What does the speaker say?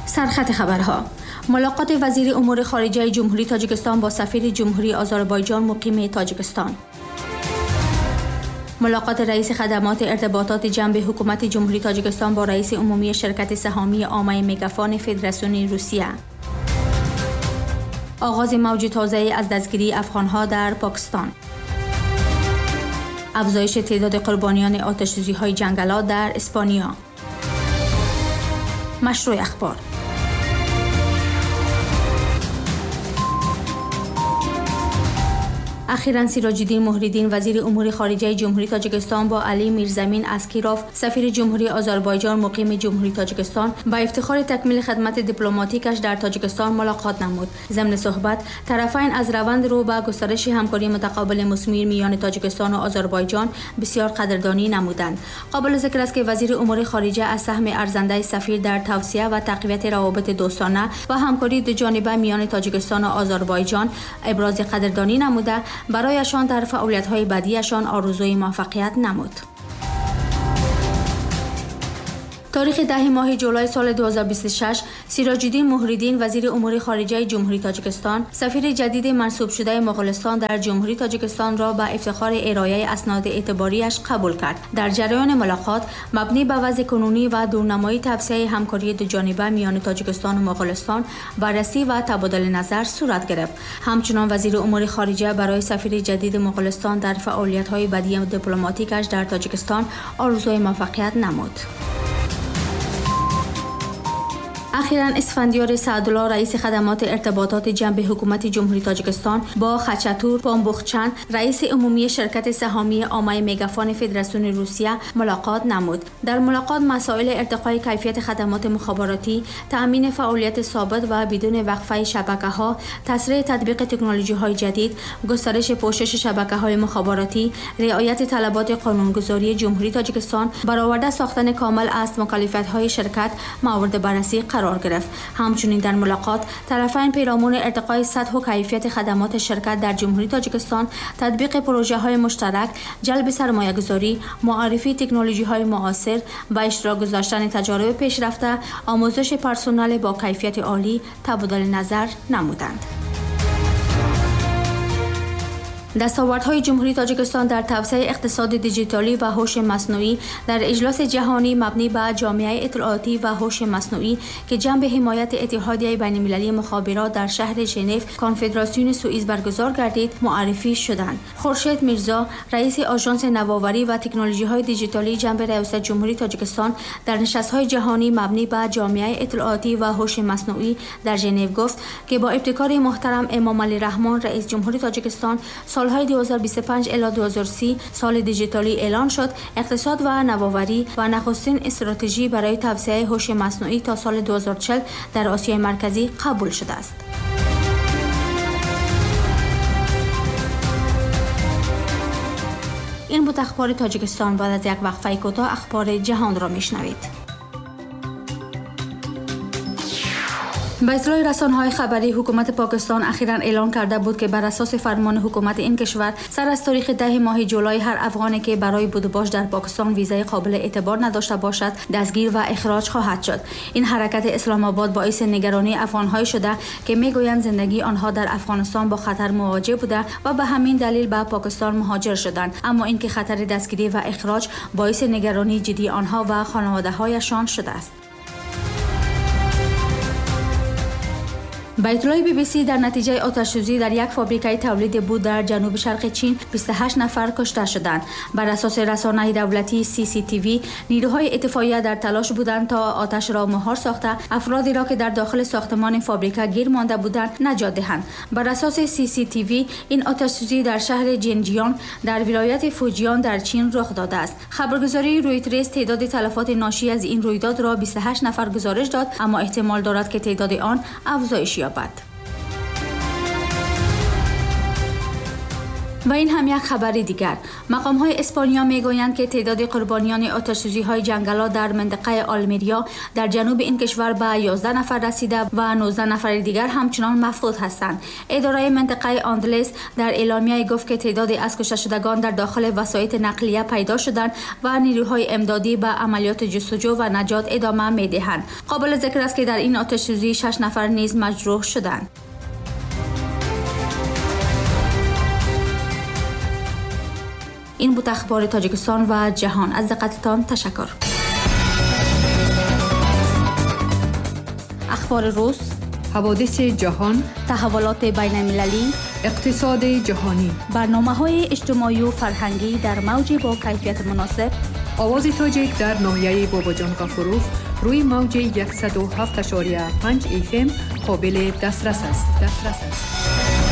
سرخط خبرها: ملاقات وزیر امور خارجه جمهوری تاجیکستان با سفیر جمهوری آذربایجان مقیم تاجیکستان. ملاقات رئیس خدمات ارتباطات جنب حکومت جمهوری تاجیکستان با رئیس عمومی شرکت سهامی عامه مگافون فدراسیون روسیه. آغاز موج تازه از دستگیری افغانها در پاکستان. افزایش تعداد قربانیان آتش‌سوزی‌های جنگلات در اسپانیا. مشروع اخبار. اخیراً سراج‌الدین مهریدین وزیر امور خارجه جمهوری تاجیکستان با علی میرزمین اسکیروف سفیر جمهوری آذربایجان مقیم جمهوری تاجیکستان با افتخار تکمیل خدمت دیپلماتیکش در تاجیکستان ملاقات نمود. ضمن صحبت طرفین از روند رو به گسترش همکاری متقابل مثمر میان تاجیکستان و آذربایجان بسیار قدردانی نمودند. قابل ذکر است که وزیر امور خارجه از سهم ارزنده سفیر در توسعه و تقویت روابط دوستانه و همکاری دو جانبه میان تاجیکستان و آذربایجان ابراز قدردانی نموده برایشان در فعالیت‌های بعدیشان آرزوی موفقیت نمود. تاریخ 10 ماه جولای سال 2026 سراج‌الدین مهریدین وزیر امور خارجه جمهوری تاجیکستان سفیر جدید منصوب شده مغولستان در جمهوری تاجیکستان را به افتخار ارائه اسناد اعتباریش قبول کرد. در جریان ملاقات مبنی بر وضع کنونی و دورنمایی توسعه همکاری دو جانبه میان تاجیکستان و مغولستان بررسی و تبادل نظر صورت گرفت. همچنین وزیر امور خارجه برای سفیر جدید مغولستان در فعالیت‌های بعدی دیپلماتیکش در تاجیکستان آرزوی موفقیت نمود. اخیراً اسفندیار سعدالله رئیس خدمات ارتباطات جنب حکومت جمهوری تاجیکستان با خچاتور پامبوخچن رئیس عمومی شرکت سهامی عامه مگافون فدراسیون روسیه ملاقات نمود. در ملاقات مسائل ارتقای کیفیت خدمات مخابراتی، تأمین فعالیت ثابت و بدون وقفه شبکه‌ها، تسریع تطبیق تکنولوژی‌های جدید، گسترش پوشش شبکه‌های مخابراتی، رعایت طلبات قانونگذاری جمهوری تاجیکستان، برآورده ساختن کامل از مکلفیت‌های شرکت مورد بررسی قرار گرفت. همچنین در ملاقات طرفین پیرامون ارتقای سطح و کیفیت خدمات شرکت در جمهوری تاجیکستان، تطبیق پروژه‌های مشترک، جلب سرمایه‌گذاری، معرفی تکنولوژی‌های معاصر و اشتراک گذاشتن تجارب پیشرفته، آموزش پرسنل با کیفیت عالی تبادل نظر نمودند. دستاوردهای جمهوری تاجیکستان در توسعه اقتصاد دیجیتالی و هوش مصنوعی در اجلاس جهانی مبنی بر جامعه اطلاعاتی و هوش مصنوعی که جنب حمایت اتحادیه بین‌المللی مخابرات در شهر ژنو کنفدراسیون سوئیس برگزار گردید معرفی شدند. خورشید میرزا رئیس آژانس نوآوری و تکنولوژی‌های دیجیتالی جنب ریاست جمهوری تاجیکستان در نشست‌های جهانی مبنی بر جامعه اطلاعاتی و هوش مصنوعی در ژنو گفت که با ابتکار محترم امام علی رحمان رئیس جمهوری تاجیکستان سالهای 2025 الی 2030 سال دیجیتالی اعلان شد. اقتصاد و نوآوری و نخستین استراتژی برای توسعه هوش مصنوعی تا سال 2040 در آسیای مرکزی قبول شده است. این بود اخبار تاجیکستان. بعد از یک وقفه کوتاه اخبار جهان را میشنوید. به اطلاع رسانه‌های خبری حکومت پاکستان اخیراً اعلان کرده بود که بر اساس فرمان حکومت این کشور سر از تاریخ 10 ماه جولای هر افغانی که برای بودوباش در پاکستان ویزای قابل اعتبار نداشته باشد دستگیر و اخراج خواهد شد. این حرکت اسلام آباد باعث نگرانی افغان‌های شده که میگویند زندگی آنها در افغانستان با خطر مواجه بوده و به همین دلیل به پاکستان مهاجر شدند، اما اینکه خطر دستگیری و اخراج باعث نگرانی جدی آنها و خانواده‌هایشان شده است. به اطلاع بی بی سی در نتیجه آتش‌سوزی در یک فابریکه تولید بود در جنوب شرق چین 28 نفر کشته شدند. بر اساس رسانه دولتی سی سی تی وی نیروهای اطفائیه در تلاش بودند تا آتش را مهار ساخته افرادی را که در داخل ساختمان فابریکه گیر مانده بودند نجات دهند. بر اساس سی سی تی وی این آتش‌سوزی در شهر جنجیان در ولایت فوجیان در چین رخ داده است. خبرگزاری رویترز تعداد تلفات ناشی از این رویداد را 28 نفر گزارش داد، اما احتمال دارد که تعداد آن افزایش یابد. و این هم یک خبر دیگر. مقام های اسپانیا میگویند که تعداد قربانیان آتش‌سوزی های جنگل‌ها در منطقه آلمریا در جنوب این کشور به 11 نفر رسیده و 19 نفر دیگر همچنان مفقود هستند. اداره منطقه آندلس در اعلامیه گفت که تعدادی از کشته شدگان در داخل وسایط نقلیه پیدا شدند و نیروهای امدادی به عملیات جستجو و نجات ادامه میدهند. قابل ذکر است که در این آتش‌سوزی 6 نفر نیز مجروح شدند. این بود اخبار تاجیکستان و جهان. از دقتتان تشکر. اخبار روز، حوادث جهان، تحولات بین المللی، اقتصاد جهانی، برنامه‌های اجتماعی و فرهنگی در موج با کیفیت مناسب. آواز تاجیک در ناحیه باباجان غفوروف روی موج 107.5 FM قابل دسترس است.